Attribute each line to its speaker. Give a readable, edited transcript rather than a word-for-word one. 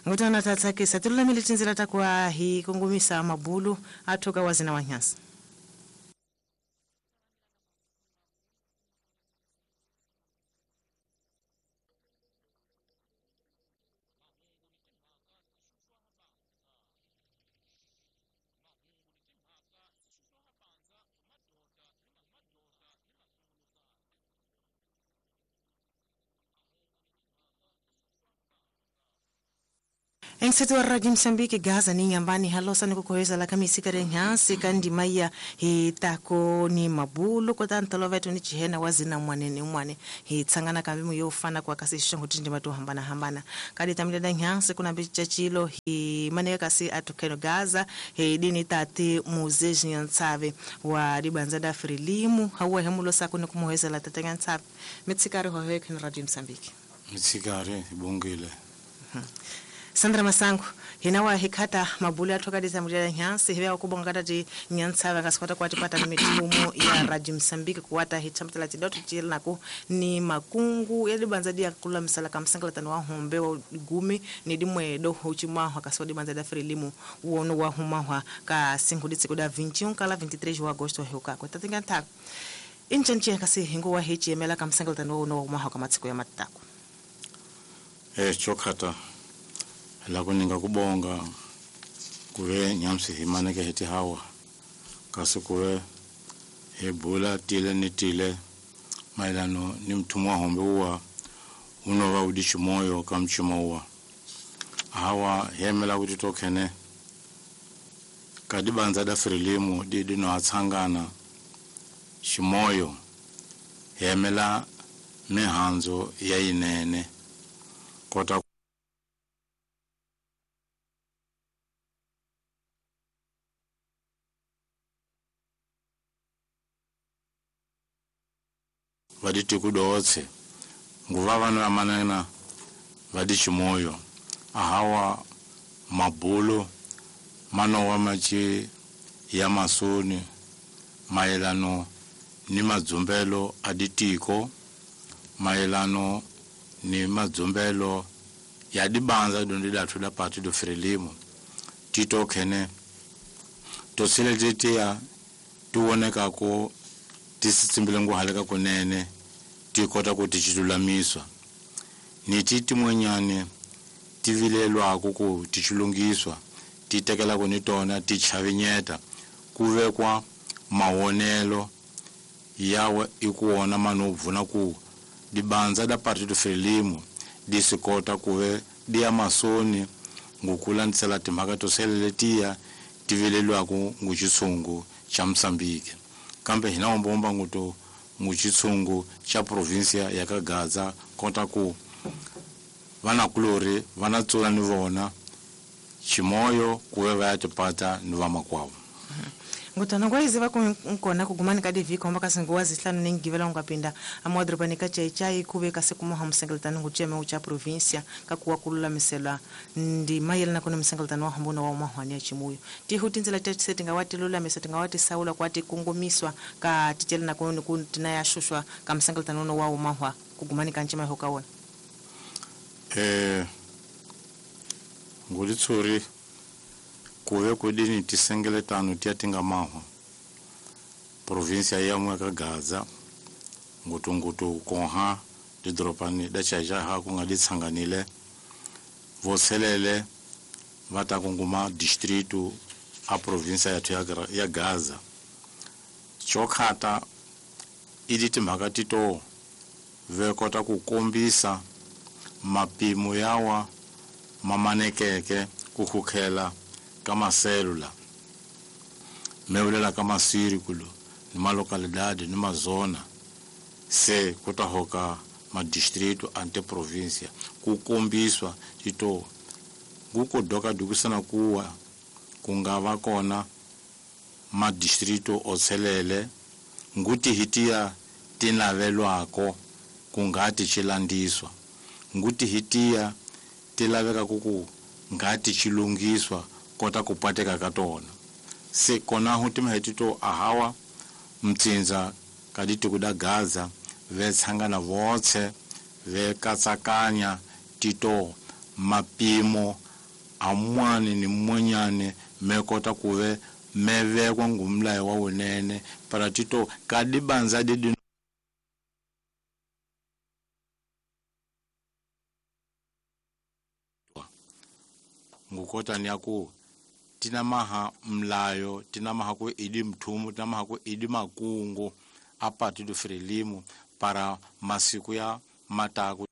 Speaker 1: Ngutana tatsakisa tilulamile tindzela ta kuva hi kongomisa mabulu a thoka wa zina wa nyasa. Enseto wa Radio Msambiki Gaza ni nyambani halosa ni kukoheza la kamisika renhansi kandi maya hi tako ni mabulu kota ntolovetu ni chihena wazina mwane ni mwane hi tsangana kambimu yofana kwa kasi shangu tindi matu hambana hambana kadi tamile nhansi kuna bichachilo hi maneka kasi atukeno Gaza hi dini tati muzeji nyantsave wa dibanza frilimu hawa hemulo sako ni kumuheza la tata nyantsave mitsikari hohe kin Radio Msambiki
Speaker 2: mitsikari bongile.
Speaker 1: Sandra Masango hinawa hikata mabulu atoka disamulira nyansi hiwa kubonga tati nyansa vakaswata kwa tipata mitumo ya Radio Msambiki kuwata hitamtala tidoto chilako ni makungu yalibanza dia kula msala kamsangala tano wa hombe wa gumi ni dimwe doho chimwa akaswa dibanza da frelimu uono wa humahwa ka singuditse kuda 21 kala 23 wa Agosto heuka kwa tatinga ta inchanche kasi hingo wa hichemela kamsangala tano wa humahwa kamatsiko ya matako
Speaker 2: chokata la kuninga kubonga kuve nyamsi himaneke heti hawa kasi kuve hebula tile ni tile mailano ni mtumwa hombe uwa unova udichi moyo kamchima uwa hawa hemela kuti tokene kadibanza da frilimu didino atsangana shimoyo hemela mihanzo ya inene kota vaditi kudotse nguva vano amanena vadichimoyo ahawa mabulu manowa machi ya masoni maelano ni madzumbelo aditiko maelano ni madzumbelo ya dibanza dondi datu da partido Frelimo tito kene toseletetea tuoneka ko tisitsimbile nguhaleka kunene tikota kuti chitulamiswa ni titi mwenyane tivilelwako ku tichilungiswa titekela kunitona tichavinyeta kuvekwa mawonelo yawe ikuona manobvuna ku dibanza da partido Frelimo disikota kuve dia masoni ngukulandisela timhaka toseleletiya tivilelwako nguchitsungu cha Msambiki kambe hina ombomba nguto muchitsungu cha provincia ya Kagaza kota ku vanakulori vanatsula ni vona chimoyo kuve va ya tipata ni vamakwavo.
Speaker 1: Ngutana ngwaizi va nkona kugumani ka divhiko hamba kasi nguwa zihlanu nengivela ungapinda amadorobani ka chaichai kuve kasi kumoha musengeletani ngucheme ucha provincia kakuwa kululamisela ndi mayelana kuna musengeletani wa hambona wa umahwani ya chimuyo tihu tindzela tetse tingawati lulamisa tingawati saula kwati kungumiswa ka tichelana kuni kuntina ya shushwa ka musengeletani uno wa umahwa kugumani ka nchima hokawona
Speaker 2: ngulitsuri kuve kudini tisengeletano tiya tingamahwa provincia ya ka Gaza ngutungutu konha didropani da chaja ku nga ditsanganile voselele va ta kunguma distrito a provincia yathu ya Gaza chokhata idi timhaka tito ve kota ku kombisa mapimo yawa mamanekeke ku khukhela kama selula meulela kama sirikulo ni malocalidade ni mazona se kutahoka madistrito ante provincia kukombiswa tito ngukodoka dukusana kuwa kungava kona madistrito otselele nguti hitiya tinavelwako kungati chilandiswa nguti hitiya tilaveka kuku ngati chilungiswa kota kupateka katona se kona huti mahetito ahawa mtsinza kaditi kuda Gaza vetsangana votse vekatsakanya tito mapimo amwani ni mwanyane me kota kuve me vekwa ngumlayo wa wunene para tito kadibanza didi ngukota ni aku tina maha mlayo tina maha ku idi mthumu tina maha ku idi makungu a Partido Frelimo para masiku ya mataku.